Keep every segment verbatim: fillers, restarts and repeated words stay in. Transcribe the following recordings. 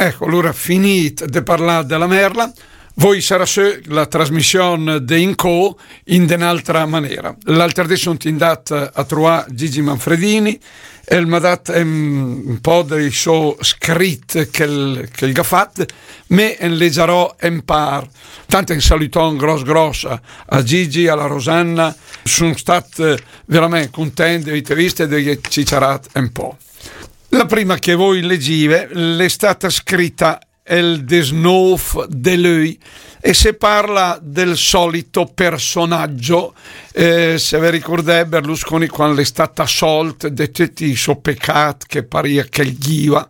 Ecco, alura, finit de parlà de la Merla, voi sarà sö la trasmission de Incó in de n'altra manera. L'alter dé sun indat a truà Gigi Manfredini, el m'ha dat un, un po' dei so scrit che el, che el gh'ha fat, me en legiarò un par. Tant un salüton gros gros a, a Gigi, a la Rosanna, sun stat, eh, verament cuntent de vite vist e de ciciarat un po'. La prima che voi legive l'è stata scritta el desnóf de löi e se parla del solito personaggio, eh, se ve ricurdè Berlusconi quand l'è stat assolt de töcc i so pecat che paria che el ghiva,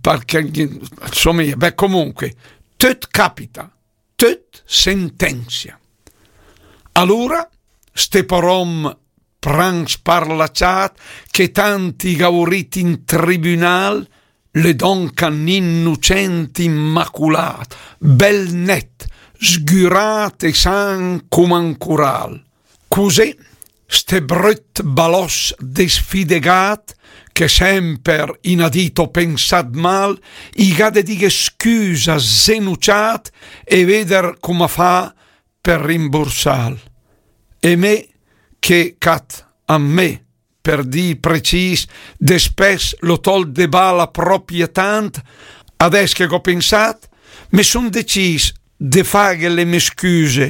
perché, insomma, beh, comunque, töt capita, töt sentenzia. Alura, ste porom pran sparlaciat che tant i gh'ha vurit in tribunal, l'è donca n'innucent immaculat, bel net, sgürat e san coma un cural. Cusé, ste bröt baloss de sfidegat, che semper in ha dit o pensat mal, i gh'ha de dighe scüsa zenuciat e veder coma fa per rimbursal. E me che cat a me, per dì precis, despès l'ho tolt de bala propia tant, adès che gh'ho pensat, me sun decis de faghe le me scüse,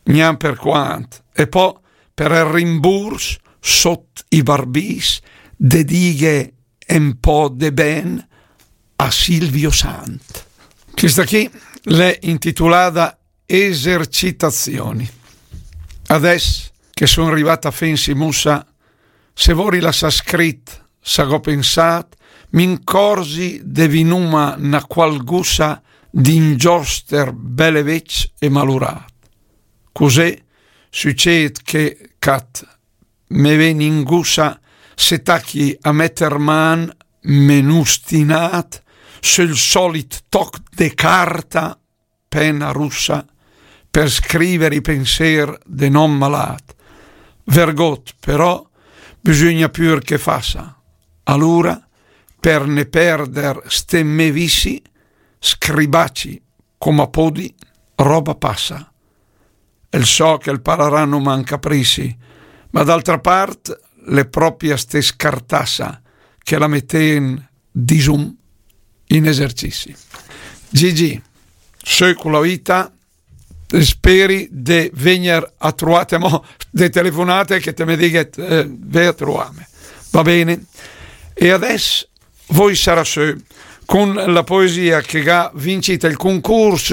gnan per quant, e po per el rimburs sot i barbis de dighe un po' de ben a Silvio Sant. Questa qui l'è intitulada Esercitazioni. Adès che sun rivat a fensi mussa, se vori lassà scrit sa gh'ho pensat, m'incorzi de vì numa na qual gussa d'ingioster bel e vecc e malurat. Cusé süced che cat me ven in gussa se tachi a metter man menustinat söl solit toc de carta, pena russa, per scriver i penser de n'om malat. Vergot, però, bisugna pür che fassa. Alura, per ne perder ste me vissi, scribaci coma podi, roba passa. El so che el pararà numa un caprici, ma d'altra part l'è propia ste scartassa che la meten, disum, in esercizi. Gigi, sö cu la vita, speri de vegner a truate, mo de telefonate che te me dighet, eh, ve a truame. Va bene? E adès voi sarà sö con la poesia che gh'ha vincit el concurs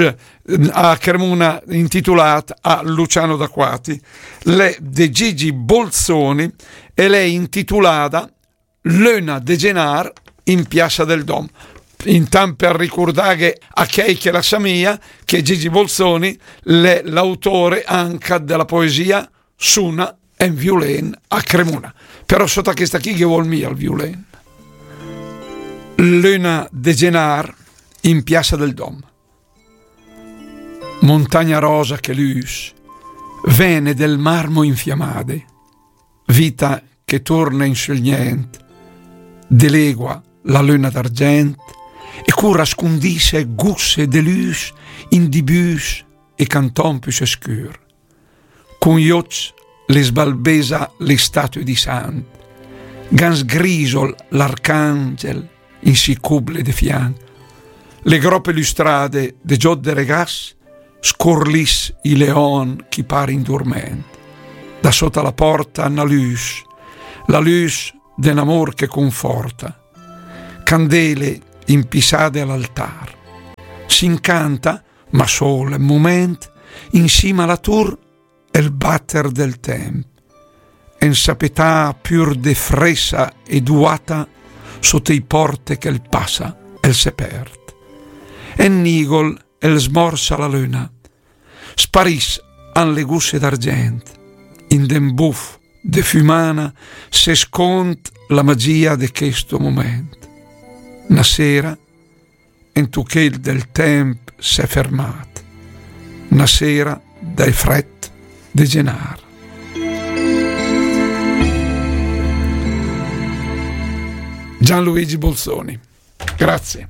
a Cremuna intitulat a Luciano D'Acquati, l'è de Gigi Bolzoni e l'è intitulada L'öna de genar in Piassa del Dom. Intant per ricurdaghe a chei che la sa mia che Gigi Bolzoni l'è l'autore anca de la poesia Suna en viulen a Cremuna. Però sota questa chi ghe vol mia el viulen. L'öna de genar in Piassa del Dom. Montagna rosa che lüs, vene del marmo infiamade, vita che turna in sül nient, de legua la löna d'argent, e cura scundisse gusse de lüs in di büs e canton püssee scür. Cun i öcc le sbalbesa le statue di sant, Gans Grisol l'arcangel in si cuble de fianc, le groppe lustrade de giot de regas, scurlis i leon chi par in durment. Da sota la porta na lüs, la lüs de n'amor che cunforta, candele impissade a l'altar. S'incanta ma sol un mument, in sima a la tur el batter del temp, en sapetà pür de fressa e duata, sot i porte che el passa, el se perd. En nigol el smorsa la löna, spariss an le gusse d'argent, in den buf de fümana se scond la magia de chesto mument. Na sera en tuchel del temp s'è fermat, na sera dai fret de genar. Gianluigi Bolzoni. Grazie.